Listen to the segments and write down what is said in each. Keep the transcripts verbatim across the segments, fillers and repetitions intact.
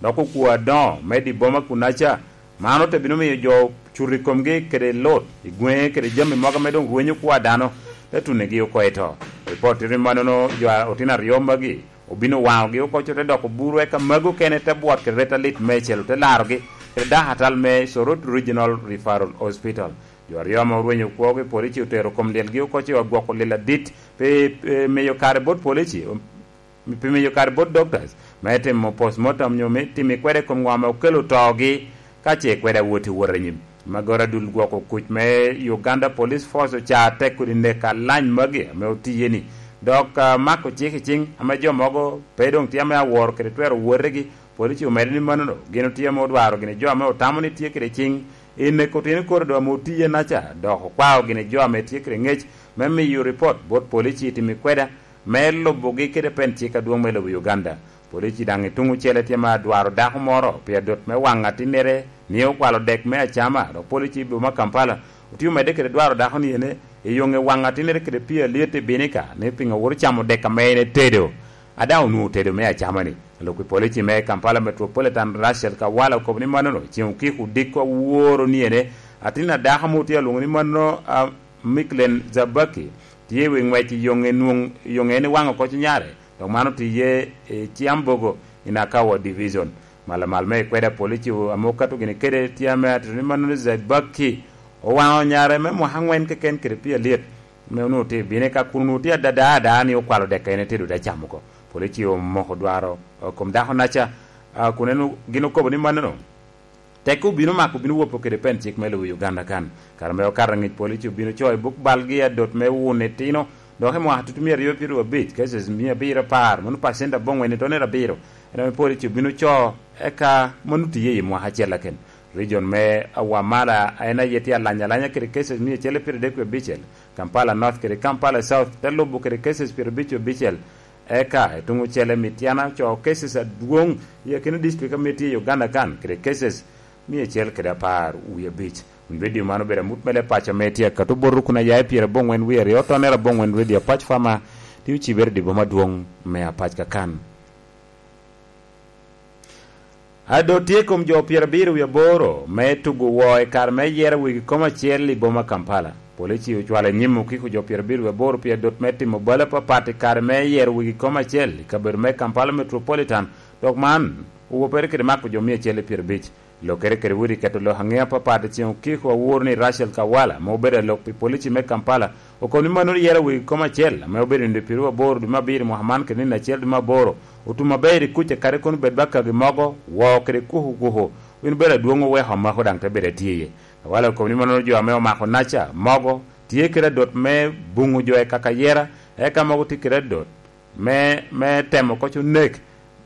dok okwo adoŋo me di boma kunaca. Man ote bino miyo jo cuto i komgi kede lut i gweŋe kede jami mogo ame doŋ rwenyo kwo a dano, te tunigi oko i to. Ripot tito ni mannono jo a-, otino aryo magi obino waŋogi oko, co te doko buru, eka magi okene te bwot kede ret alit meicel, ote larogi kede dako atal me Soroti Regional Referral Hospital. Jo aryo ame orwenyo kwogi, polici otero kom lyelgi oko, ci ogwoko lyel adit pi, pi miyo kare bot polici, pi miyo kare bot doctors me timo postmortem nyo me timo kwede i kom ŋo ame okelo togi, ka ce kwede awot i wot anyim. Magoro adul gwoko kuc me Uganda Police Force oca tek kodi nek alany magi ame otiye ni, dok, ah, mako cik i cing ame jo mogo pe doŋ tye ame aworo kede twero wotegi. Polici omedde ni mannono gin otye ame odwaro gini jo ame otamo ni tye kede cing i neko otino koro doŋ ame otiye naca, dok okwao gini jo ame tye kede ŋec me miyo ripot bot polici i timo kweda me lubogi kede pen cik adwoŋ me lobo Uganda. Polici daŋ i tuŋ ocele tye ma dwaro dako moro pi adot me waŋ atinnere ni okwalo dek me acama, dok polici i boma Kampala otye omedde kede dwaro dako ni ene i yoŋe waŋ atinnere kede pii alyet i Binika ni piŋo wot ocamo dek ame en etedo. A daŋ onwoŋo otedo me acama ni. Alok i polici me Kampala Metropolitan Rachel Kawala okobo ni mannono ceŋ okiko odiko aworo ni ene atin a dako mo tye alwoŋo ni manno, a, Miklen Zabaki tye i wi ŋwec i yoŋe nwoŋ, yoŋe en iwaŋo koc nyare, dok man otiye i Kiambogo i Nakawa Division. Malamal me ikweda polici ame okato gini kede tye ame atito ni manno ni Zabaki owaŋo nyare me mwaka aŋwen keken kede pii alyet, me onwoŋo tye i Binika kun onwoŋo tye adada ada ni okwalo dek en etedo te camo oko. Polici omoko dwaro, o, kom dako naca, a, kun en o-, gin okobo ni mannono. Teko obino mako, obino wopo kede pen cik me lobo Uganda kan. Kare me okato aŋic polici obino co i buk balgi adot me wun etino, dok i mwaka tutu mia aryo pyeraryo abic, cases mia abiro apar, mano pacent aboŋwen i tonere abiro. En ame polici obino co, eka mano tiye i mwaka acel aken. Region me Wamala en aye tye alanya alanya kede cases mia acel pyeraryo adek wie abicel. Kampala North kede Kampala South te lubo kede cases pyerabicel. Eka i tuŋ ocele Mityana ocoo cases adwoŋ i akina district ame tye i Uganda kan kede cases mia acel kede apar wie abic. Wun redio man obedo amut mele paco ame tye akato botwu kun aya i pyeraboŋwen wie aryo tonere aboŋwen redio Apac Fama, tye ocibere i dye boma adwoŋ me Apac kakan. Adot tye i kom jo pyerabiro wie aboro me tugo woo i kare me yero wegi kom acel i boma Kampala. Polici ocwalo i nyim okiko jo pyerabiro wie aboro pi adot me timo bal apapat i kare me yero wegi kom acel i kabedo me Kampala Metropolitan, dok man owopere kede mako jo mia acel i pyerabic. Lokere kede wodi keto lok aŋe apapat i ceŋ okiko awor ni Rachel Kawala, ma obedo alok pi polici me Kampala, okobo ni mannono yero wegi kom acel, ame obedo nino pyerabiro aboro dwe me abiro mwaka man kede nino acel dwe me aboro, otum aber i kuca kadi kono bed bakagi mogo, woo kede kuku kuku, win bedo adwoŋ oweko amako daŋ te bedo atye iye. Awala okobo ni mannono jo ame omako naca mogo tye kede adot me buŋo jo i kaka yera, eka mogo tye kede adot me, me temo koc onek,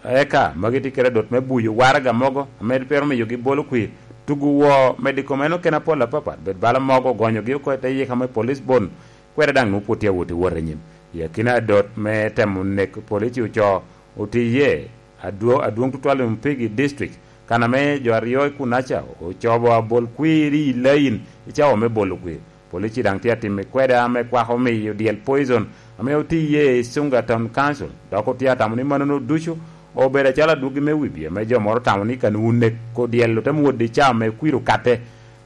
eka magi tye kede adot me buyo waraga mogo ame twero miyogi bolo kwir, tugo woo, medo i kom en okene apol apapat, bed bala mogo, gonyogi oko i te yika me police bon, kwede daŋ nwoŋo pwod tye awot i wot anyim. I akina adot me temo nek polici ocoo otiye adwo-, adwoŋ tutwal i Mpigi District, kan ame jo aryo i kunaca ocobo abol kwir i lain i cawa me bolo kwir. Polici daŋ tye atimo kweda ame kwako miyo dyel poison ame otiye i Sunga Town Council, dok otye atamo ni mannono ducu obedo acalo adwogi me wibi ame jo moro tamo ni kan wun nek ko dyel ote mwodde i cawa me kwir okatte,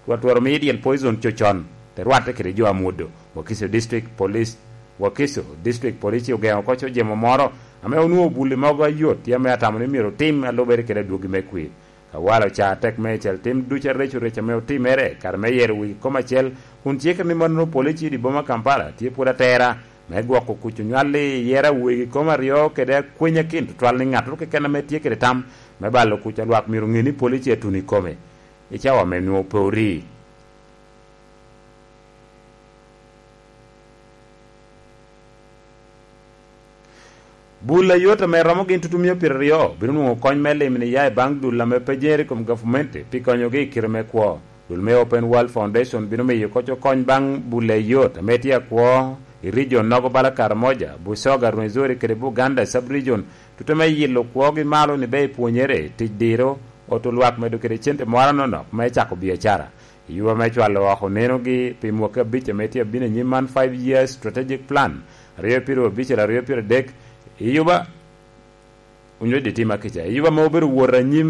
twatwero miyo dyel poison cocon, te rwatte kede jo amwodo. Wakiso District Police, Wakiso District Police ogeŋo oko co jemo moro ame onwoŋo buli mogo ayot tye ame atamo ni myero otim alubere kede adwogi me kwir. Kawala oca tek meicel tim ducu areco rec ame otimere kare me yero wigi kom acel, kun cikere ni mannono polici i boma Kampala tye pwod atera me gwoko kuc onywal i yero wigi kom aryo kede akwenya kin tutwal ni ŋattoro keken ame tye kede tam me balo kuc a lwak myero ŋe ni polici atuno i kome i cawa me nwoŋo pe ori. Bul a yot ame romo gin tutumia pyeraryo bino nwoŋo kony me limo ni ya i baŋ dul ame pe jeŋere i kom gavumenti pi konyogi i kite me kwo. Dul me Open World Foundation bino miyo koc okony baŋ bul a yot ame tye akwo i region nogo bala Karamoja, Busoga, Rwenzori kede Buganda sub-region, tute me yilo kwogi malo ni be ipwonyere, tic diro, oto lwak medo kede cente moro anonok me cako biacara. I yuba me cwalo oko nenogi pi mwaki abic ame tye abino anyim man, five years strategic plan, aryo pyerabicel, aryo pyeradek, i yuba, onyo di tim akica, i yuba ame obedo wot anyim